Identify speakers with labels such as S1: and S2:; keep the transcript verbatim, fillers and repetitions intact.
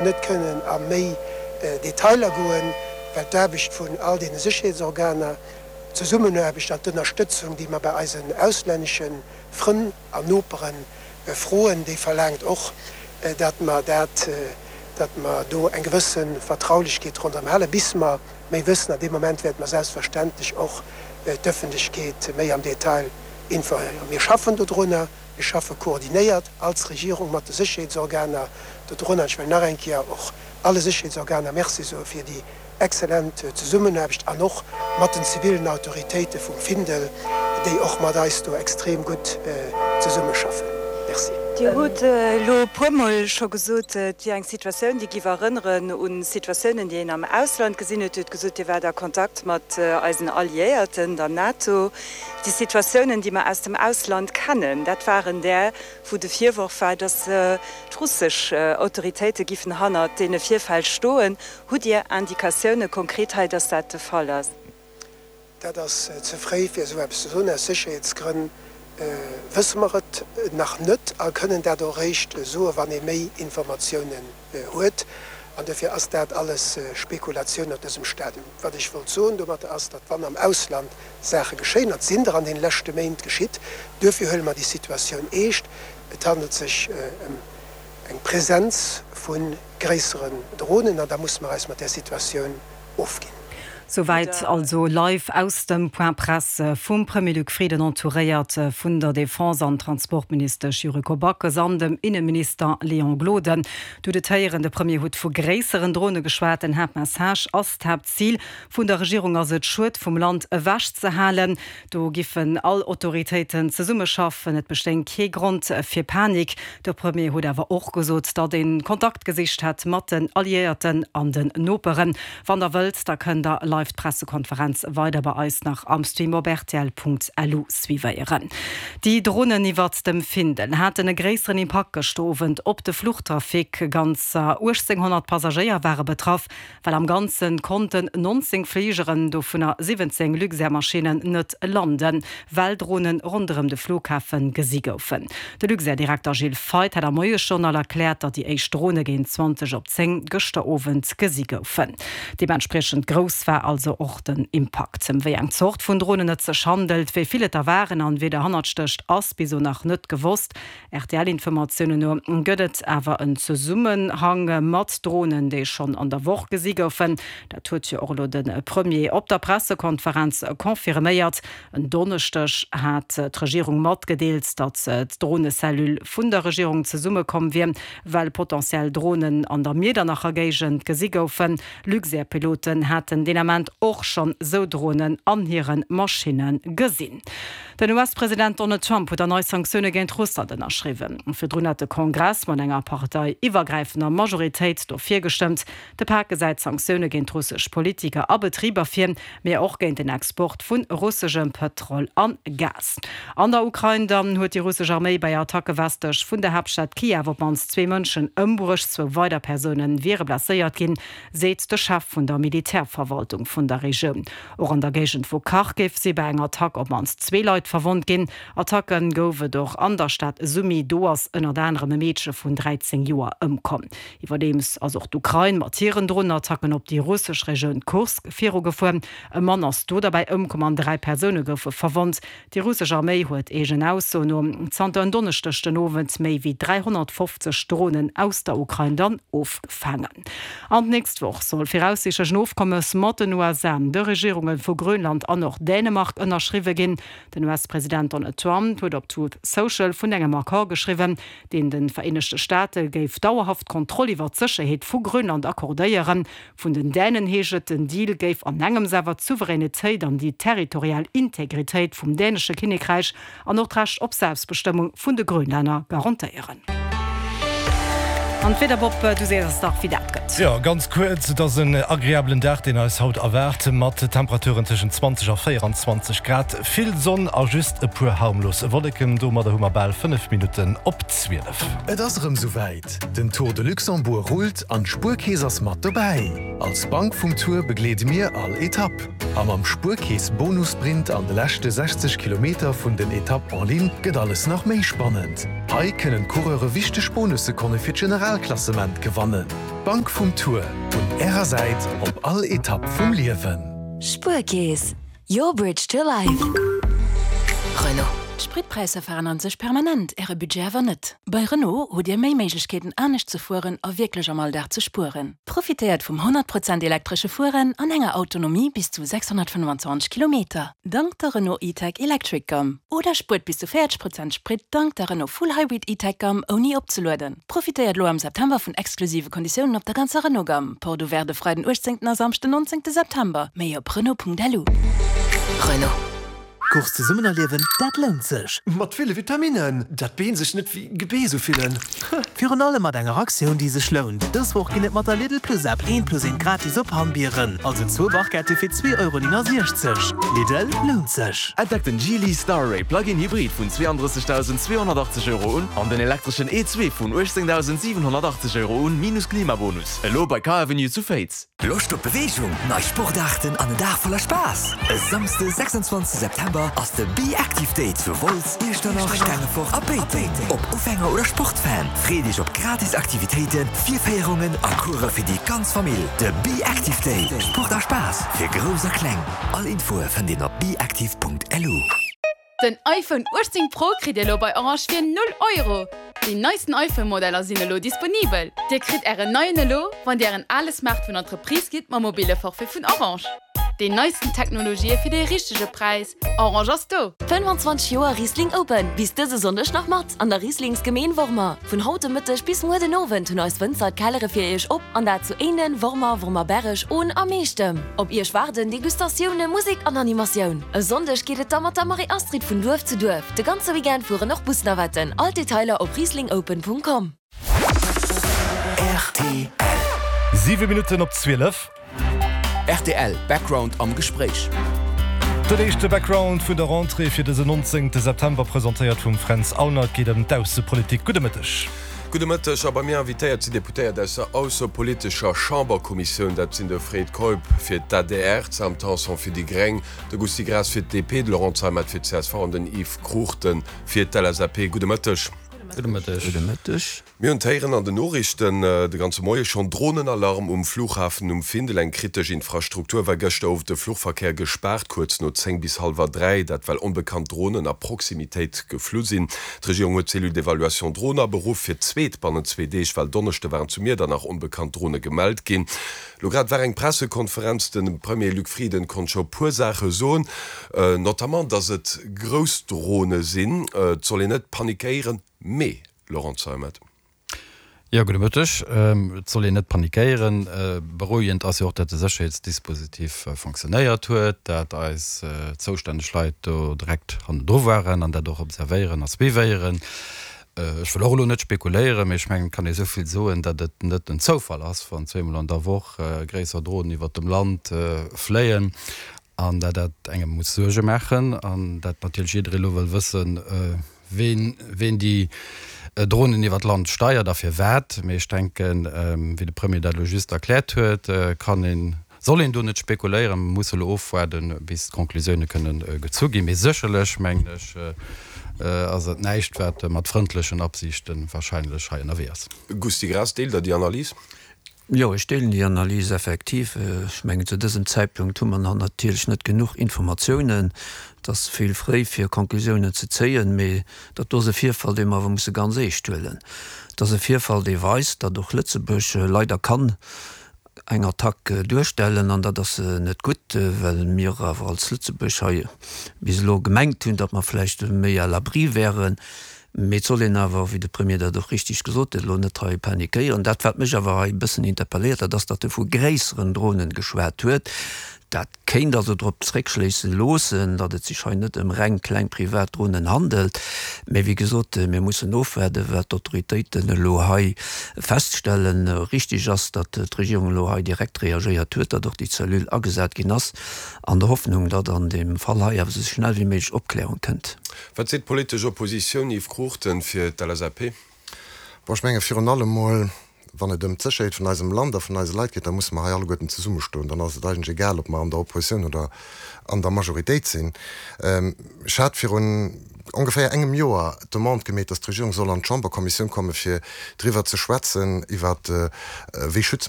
S1: Net kënnen a méi Detailer goen, well d'Aarbecht vun all deene Sécherheetsorganer, d'Zesummenaarbecht an d'Ënnerstëtzung, déi mer bei eisen auslännesche Frënn an Nopere froen, déi verlaangt och, datt mer dat, datt mer do eng gewësse Vertraulechkeet ronderëm halen, bis mer méi wëssen. An dee Moment wäerte mer selbstverständlech och d'Ëffentlechkeet méi am Detail informéieren. Mir schaffen dodrunner. Mir schaffe koordinéiert als Regierung mat de Sécherheetsorganer dodrun. An ech wëll nach eng Kéier och alle Sécherheetsorganer Merci soe fir déi exzellent Zesummenaarbecht an och mat den zivilen Autoritéite vum Findel, déi och mat eis do extrem gutt zesummeschaffen. Merci.
S2: Dir hutt elo e puermol scho gesot, et wier eng Situatioun, déi giff erënneren un Situatiounen, déi een am Ausland gesinn huet. Dir hutt gesot, Dir waart a Kontakt mat eisen Alliéierten, der NATO. Déi Situatiounen, déi mer aus dem Ausland kennen, dat waren där, wou de Virworf war, datt d'russesch Autoritéite giffen hannert deene Virfäll stoen. Hutt Dir Indikatioune konkret hei, datt dat de Fall ass?
S1: Dat ass ze fréi, fir esou eppes ze soen. Aus Sécherheetsgrënn wësse mer et nach net a kënnen dat och eréischt soen, wann ee méi Informatiounen huet. An dofir ass dat alles Spekulatioun op dësem Stadium. Wat ech wollt soen domatter ass, datt wann am Ausland Saache geschéien, an et sinn der an deene leschte Méint geschitt, duerfir huele mer déi Situatioun eescht, et handelt sech ëm eng Präsenz vu gréisseren Dronen an da musse mer eis mat där Situatioun ofginn.
S3: Souwäit also live aus dem Point Presse vum Premier Luc Frieden, entouréiert vun der Defense an Transportministesch Yuriko Backes an dem Inneminister Léon Gloden. Du hutt et héieren, de Premier huet vu gréisseren Drone geschwat. Den Haaptmessage ass, D'Haaptzil vun der Regierung ass et, Schued vum Land ewech ze halen. Do giffen all Autoritéiten zesummeschaffen. Et bestéing kee Grond fir Panik. De Premier huet awer och gesot, datt ee Kontakt gesicht hätt mat den Alliéierten an den Noperen. Wann der wëllt, da kënnt der live d'Pressekonferenz weider bei eis nach am Stream op rtl.lu suivéieren. Déi Dronen iwwert dem Findel haten e gréisseren Impakt gëschter Owend op de Fluchtrafic. Ganzer uechtzénghonnert Passagéier ware betraff, well am Ganze konnten nonzéng Fligeren, dovunner siwwenzéng Luxair-Maschinnen, net landen, well Dronen ronderëm de Flughafe gesi goufen. De Luxair-Direkter Gilles Feith hat am Moiesjournal erkläert, datt déi éischt Drone géint zwanzeg op zéng gëschter Owend gesi goufen. Deementspriechend grouss war also och den Impakt. Ëm wéi eng Zort vun Dronen et sech handelt, wéi vill et der waren an wee derhannert stécht, ass bis elo nach net gewosst. R T L-Informatiounen no gëtt et awer en Zesummenhang mat Dronen, déi schonn an der Woch gesi goufen. Dat huet jo och elo de Premier op der Pressekonferenz confirméiert. En Donneschdeg hat d'Regierung matgedeelt, datt d'Dronecellule vun der Regierung zesummekomm wier, well potentiell Dronen an der Miedernacher Géigend gesi goufen. Luxair-Piloten haten deen Ament och schonn sou Dronen an hire Maschinne gesinn. Den U S-President Donald Trump huet nei Sanktioune géint Russland ënnerschriwwen. Virdrun hat de Kongress mat enger parteiiwwergräifender Majoritéit dofir gestëmmt. De Pak gesäit Sanktioune géint russesch Politiker a Betriber vir, mee och géint den Export vu russeschem Pëtrol an Gas. An der Ukrain dann huet déi russesch Arméi bei Attacke westlech vun der Haaptstad Kiew op d'mannst zwee Mënschen ëmbruecht, zwou weider Persoune wiere blesséiert ginn, seet de Chef vun der Militärverwaltung vun der Regioun. Och an der Géigend vu Kharkiv si bei enger Attack op d'mannst zwee Leit verwonnt ginn. Attacke gouf et och an der Stad Sumy, do ass ënnert anerem e Meedche vun dräizéng Joer ëmkomm. Iwwerdeems ass och d'Ukrain mat hiren Dronenattacken op déi russesch Regioun Kursk virugefuer. E Mann ass do derbäi ëmkomm an dräi Persoune goufe verwonnt. Déi russesch Arméi huet eegen Ausso no zanter en Donneschdeg den Owend méi wéi dräihonnertfofzeg Dronen aus der Ukrain dann ofgefaangen. An d'nächst Woch soll viraussiichtlech en Ofkommes mat den U S A, de Regierunge vu Grönland an och Dänemark ënnerschriwwe ginn. Den U S-President Donald Trump huet op Truth Social vun engem Accord geschriwwen, deen de Vereenegte Staate géif dauerhaft Kontroll iwwer d'Sécherheet vu Grönland accordéieren. Vun den Dänen heescht et, den Deal géif an engems awer d'Souveränitéit an déi territorial Integritéit vum dänesche Kinnekräich an och d'Recht op Selbstbestëmmung vun de Grönlänner garantéieren. An d'Wieder, Bob, du sees eis dach, wéi dat gëtt.
S4: Jo, ganz kuerz, et ass en agreabelen Dag, deen eis haut erwaart, mat Temperaturen tëschent zwanzeg a véierenzwanzeg Grad, vill Sonn a just e puer harmlos Wolleken. Domadder hu mer bal fënnef Minutten op zwielef.
S5: Et ass erëm souwäit, Den Tour de Luxembourg rullt an d'Spuerkeess ass mat dobäi! Als Bank vum Tour begleede mir all Etapp. A mam Spuerkeess Bonussprint an de leschte sechzeg Kilometer vun den Etapp en ligne gëtt alles nach méi spannend. Hei kënnen d'Coureure wichteg Bonussekonne fir d'General Generalklassement gewannen. D'Bank vum Tour, un Ärer Säit op all Etapp vum Liewen.
S6: Spuerkeess, your bridge to life.
S7: Renault. D'Spritpräisser veränneren sech permanent, Äre Budget awer net. Bei Renault hutt Dir méi Méiglechkeeten anescht ze fueren a wierklech am Alldag ze spueren. Profitéiert vum honnert Prozent elektresche Fueren an enger Autonomie bis zu sechshonnertfënnwandzwanzeg Kilometer, dank der Renault E-Tech Electric Gamme. Oder spuert bis zu véierzeg Prozent Sprit dank der Renault Full Hybrid E-Tech Gamme ouni opzelueden. Profitéiert elo am September vun exklusive Konditiounen op der ganzer Renault Gamme. Porte ouverte de Freiden uechtzéngten a Samschden nonzéngte September. Méi op Renault.lu.
S8: Renault. Course zesummen erliewen, dat lount sech!
S9: Mat ville Vitaminnen, dat d'Been sech net wéi Gebeess ufillen.
S8: Virun allem mat enger Aktioun, déi sech lount. Dës Woch ginn et mat der Lidl Plus App eent plus eent gratis op Hammbieren, also zwou Barquette fir zwee Euro néngasiechzeg. Lidl, lount sech!
S10: Entdeckt den Geely Starray Plug-in Hybrid vun zweeanddrëssegdausend zweehonnertachtzeg Euro un an den elektreschen E zwee vun uechtzéngdausend siwenhonnertachtzeg Euro un, minus Klimabonus. Elo bei Car Avenue zu Féiz.
S11: Loscht op Beweegung, nei Sportaarten an en Dag voller Spaass? E Samsde sechsundzwanzeg September ass de Be Active Day zu Wolz, Iechternach, Stengefort a Péiteng. Ob Ufänger oder Sportfan, freet Iech op gratis Aktivitéiten, Virféierungen a Course fir déi ganz Famill. De Be Active Day, Sport a Spaass fir Grouss a Kleng. All Infoe fënnt een op beactive Punkt L U.
S12: Den iPhone uechtzéng Pro kritt Dir elo bei Orange fir null Euro! Déi neisten iPhone-Modeller sinn elo disponibel. Dir kritt Ären neien elo, wann Dir Ären ale Smartphone an d'Reprise gitt mam mobile Forfait vun Orange. Déi neisten Technologië fir de richtege Präis, Orange ass do!
S6: Fënnwandzwanzeg Joer Riesling Open, bis dëse Sonndeg nach mat an der Rieslingsgemeen Wormer. Vun haut de Mëtteg bis muer den Owend hunn eis Wënzer d'Kellere fir Iech op, an dat zu Éinen, Wormer, Wormerberreg, Ohn a Meechtem. Op Iech waarden Degustatioune, Musek an Animatioun. E Sonndeg geet et da mat der Marie-Astrid vun Duerf zu Duerf. De ganze Weekend fueren och Busnavetten. All d'Detailer op rieslingopen Punkt com.
S11: R T L.
S4: Siwe Minutten op zwielef.
S13: R T L Background am Gespréich.
S4: Den éischte Background vun der Rentrée fir dësen nonzéngte September, presentéiert vum Fränz Aulner. Et geet ëm d'Aussepolitik. Gudde Mëtteg.
S14: Gudde Mëtteg. A bei mir invitéiert sinn Deputéiert aus der aussepolitescher Chamberkommissioun. Dat sinn de Fred Keup fir d'A D R, d'Sam Tanson fir déi Gréng, de Gusty Graas fir d'D P, de Laurent Zeimet fir d'C S V an den Yves Cruchten fir d'L S A P. Gudde Mëtteg.
S15: Gudde Mëtteg.
S16: Gudde Mëtteg.
S14: Mir hunn d'héieren an den Noriichten de ganze Moie schonn, Dronenalarm um Flughafen um Findel. Eng kritesch Infrastruktur war gëschter Owend de Fluchverkéier gespaart, kuerz no zéng bis hallwer dräi. Dat well onbekannt Dronen a Proximitéit geflu sinn. D'Regierung huet d'Cellule d'évaluation Drone aberuff fir d'zweet bannent zwee Deeg, well Donneschde waren zu Miedernach onbekannt Drone gemellt ginn. Lo grad war eng Pressekonferenz, de Premier Luc Frieden konnt scho puer Saache soen, notamment datt et grouss Drone sinn. Et soll een net panikéieren, mee, Laurent Zeimet.
S15: Jo, gudde Mëtteg. Et soll een net panikéieren. Berouegend ass jo och, datt de Sécherheetsdispositif fonctionnéiert huet, dat eis zoustänneg Leit do direkt hannendru waren an dat och observéieren a suivéieren. Ech wëll och elo net spekuléieren, mee ech mengen, et kann ee esou vill soen, datt et net en Zoufall ass, wann zweemol an der Woch gréisser Dronen iwwert dem Land fléien an dat dat engem muss Suerge maachen an dat natierlech jidderee elo wëll wëssen, ween ween déi Dronen iwwer d'Land steiert a firwat. Mee ech denken, wéi de Premier dat elo just erkläert huet, kann een, soll een do net spekuléieren. Mer musse elo ofwaarden, bis d'Conclusioune kënnen gezu ginn. Mee sécherlech, mengen ech, ass et näischt, wat mat frëndlechen Absichte warscheinlech hei ënnerwee ass.
S14: Gusty Graas, Deelt Der déi Analys?
S16: Jo, ech deelen déi Analys effektiv. Ech mengen, zu dësem Zäitpunkt hu mer nach natierlech net genuch Informatiounen. Et ass vill fréi, fir Conclusiounen ze zéien, mee dat do ass e Virfall, dee mer awer musse ganz eescht huelen. Et ass e Virfall, dee weist, datt och Lëtzebuerg leider kann eng Attack duerstellen, an dat ass net gutt, well mir awer als Lëtzebuerg hei bis elo gemengt hunn, datt mer vläicht méi à l'abri wären. Mee et soll een awer, wéi de Premier dat och richtig gesot huet, elo net hei panikéieren. Dat, wat mech awer hei e bëssen interpelléiert, dat ass, datt e vu gréisseren Dronen geschwat huet. Dat kéint also drop zréckschléisse loossen, datt et sech hei net ëm reng kleng privat Dronen handelt. Mee wéi gesot, mir mussen ofwaarden, wat d'Autoritéiten elo hei feststellen. Richtig ass, datt d'Regierung elo hei direkt reagéiert huet, datt och déi Cellule agesat ginn ass, an der Hoffnung, datt an deem Fall hei awer esou schnell wéi méiglech Opklärung kënnt.
S14: Wat seet d'politesch Oppositioun, Yves Cruchten fir d'L S A P?
S17: Bon, ech menge virun allem mol, wann et ëm d'Sécherheet vun eisem Land a vun eise Leit geet, da musse mer hei alleguerten zesummestoen. Dann ass et eigentlech egal, ob mer an der Oppositioun oder an der Majoritéit sinn. Ech hat virun ongeféier engem Joer d'Demande gemeet, datt d'Regierung soll an d'Chamberkommissioun komme fir driwwer ze schwätzen, iwwer wéi schütze mer